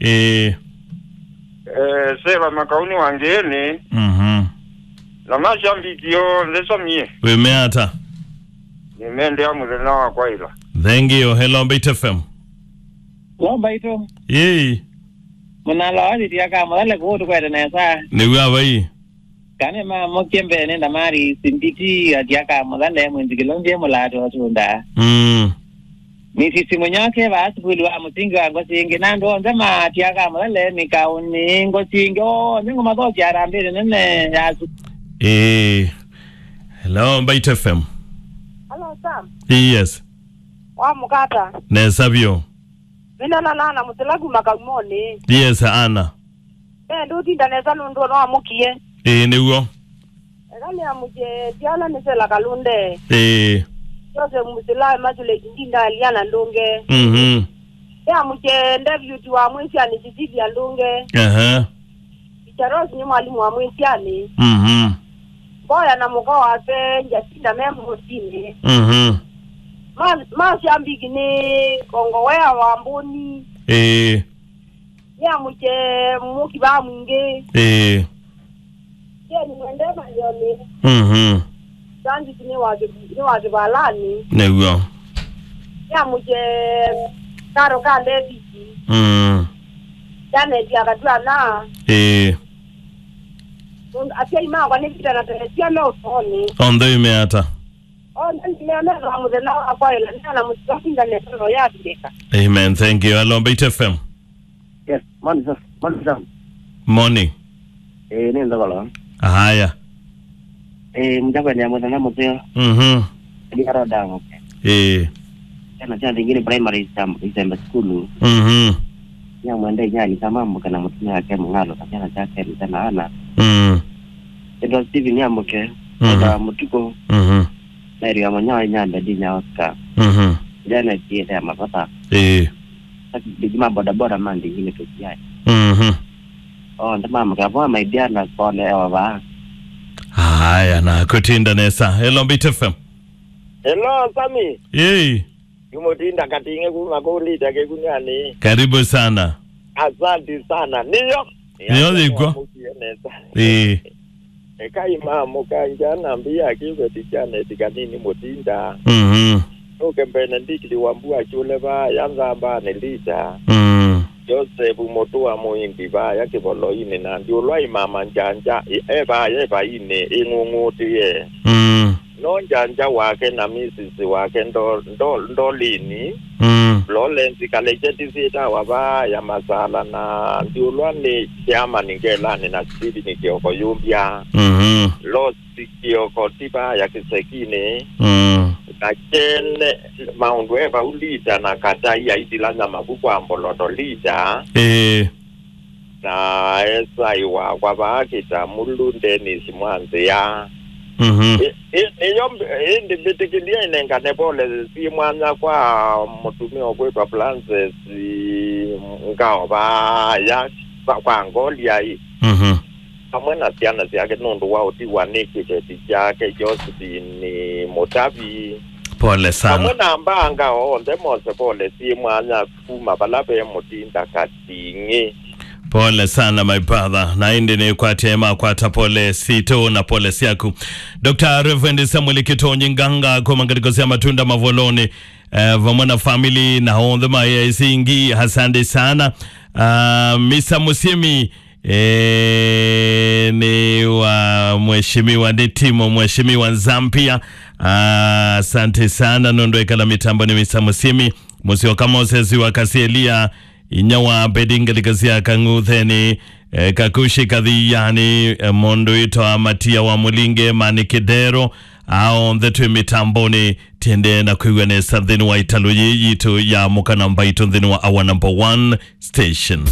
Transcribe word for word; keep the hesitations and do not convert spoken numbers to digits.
Ĩĩ. Eh, Seva Makauni wa Ngĩĩnĩ. Mhm. Na mashambiki onthe Samie. Wĩmea ata? Nĩmendea mũthenya wa kwaĩla. Thank you. Hello, Mbaitu F M. Hello, Mbaitu. Yei. Mũnala wa Titia ka Mũthale kũu tũkwete nesa. Nĩw'a vai? Kana mamũkie mbee nĩ Ndamari Simbiti, Titia ka Mũthale, mwĩnzikĩlo ndiye mũlato tunda. Mm. Misisi Mũnyoke, va sukulu wa mũsingi wa Ngosingĩ, na andũ onthe ma Titia ka Mũthale, mĩkaũnĩ, Ngosingĩ, onthe ngũmathokya harambĩnĩ nene ya su- Ĩĩ. Hello, Mbaitu F M. Hello, Sam. Yes. Wa mũkata. Nesa vyũ. Mina na nana mũsila kuma Kaumonĩ. Yes, Ana. Eh, ndũtinda nesa nũndũ no amũkie. Ĩĩ, nĩw'o. Eka nĩ amũkye Tiana nĩ Sela Kalunde. Ĩĩ. Joseph Musila, Immaculate Ndinda, Aliana Ndunge. Mhm. Nĩ amũkye David wa Mwĩsianĩ, Cecilia Ndunge. Aha. Teacher Rose nĩ mwalimu wa Mwĩsianĩ. Mhm. Mboya na mũka wake Jacinta me mũsinĩ. Mhm. Ma-, ma Shambiki nĩ Kongowea wa Mbũni. Ĩĩ. Nĩ amũkye mũki va mwingĩ. Ĩĩ. Jeni mwende mayoni. Mhm. Sandiki nĩ wa kĩ-, nĩ wa kĩvalani. Nĩw'o. Nĩ amũkye karo ka David. Mm. Janet akatw'a na. Ĩĩ. Asyai makwa nĩ Peter na Teresia me ũtonĩ. Onthe ime ata? Onthe nĩmemetha mũthenya wa kwaĩla nĩana mũsika kũngane solo ya Afrika. Amen. Thank you. Hello, Mbaitu F M. Yes, morning, sir. Morning, Sam. Morning. Eh, nĩ Nthogolo. Haya. Eh, mjakwendea mũthenya mũtheo. Mhm. Ndi aroda. Eh. Tena cha thingine primary Isam-, Isembe school. Mhm. Ya mwende nyani kama mbuka na mũtumia wake Mung'alo, kajana chake ni tena ana. Mm. Ndo Steven ya mbuke. Mhm. Ndo Mutuko. Mhm. Mary ya Mwanyawa, Inyambe, Dinya, Oscar. Mhm. Janet, Yethe ya Mavata. Eh. Ndikima boda boda mandi ngine tukiai. Mhm. Oh, ndama mkavoa my dear na pole ewa ba. Haya, na kũtinda nesa. Hello, Mbaitu F M. Hello, Sami. Yei. Nĩ Mũtinda Kating'e kuma kũu Lita Kĩkunyani. Karibu sana. Asante sana. Nĩyo. Nĩyo yĩkw'a. Nĩyo nesa. Ĩĩ. Ekai mamũkangya na mbia kĩveti kya neti kanini Mũtinda. Mhm. Nũke mbene ndikili wa mbua kyũle vaya nzambanĩ Lita. Mm. Joseph Mũtũa mũĩndi vaya kĩvoloinĩ na ndiũlwa imama njanja e vaya evainĩ ĩng'ũng'ũtĩe. Mm. No njanja wake na misisi wake ndo, ndo, ndolini. Mm. Florence Kalejeti syĩtawa vaa ya masala na ndiũlwa nĩ Chairman Ngelani na Steven Kioko Yumbia. Mhm. Losi Kioko ti vaa ya kĩsekinĩ. Mm. Na kyene maũndũ e vau Lita na Katai aitilanya mavuku a mboloto Lita. Ĩĩ. Na esai wakwa vaa Kĩtamulu Dennis Mwanzĩa. Mhm. Ĩ-, ĩ-, nĩyo mb-, ĩndĩ mbĩtĩkĩlya ĩnengane pole syĩ mwanya kwa mũtumĩa ũkwĩtwa Francis Ngao vaya kwa, kwa Ngoliai. Mhm. Vamwe na syana syake nũndũ wa ũtiwa nĩ kĩveti kyake Josephine Mũtavi. Pole sana. Vamwe na mbaa Ngao onthe mose pole syĩ mwanya kuma vala ve Mũtinda Kating'e. Pole sana, my brother. Na ĩndĩ nĩkwatya makwata pole sitũ na pole syaku. Doctor Reverend Samuel Kitonyi Nganga kuma ngalĩko sya Matunda Mavoloni, eh, vamwe na family na onthe ma A I C ingi, asante sana. Ah, Mister Musimi, eh, nĩ wa mheshimiwa, nĩ timu mheshimiwa Nzambia. Ah, asante sana nũndũ ekala mĩtambo nĩ Mister Musimi. Mũsyoka Moses wa Kasielia, inya wa Abedi ngalĩko sya Kang'utheni, eh, Kakushi Kathiyani, eh, mũndũ wĩtwa Matia wa Mũlinge, Mani Kĩdero, aonthe twĩ mĩtambonĩ, tiendee na kwĩw'a nesa nthĩnĩ wa ĩtalũ yĩĩ yitũ ya Mũka na Mbaitũ nthĩnĩ wa our number one station.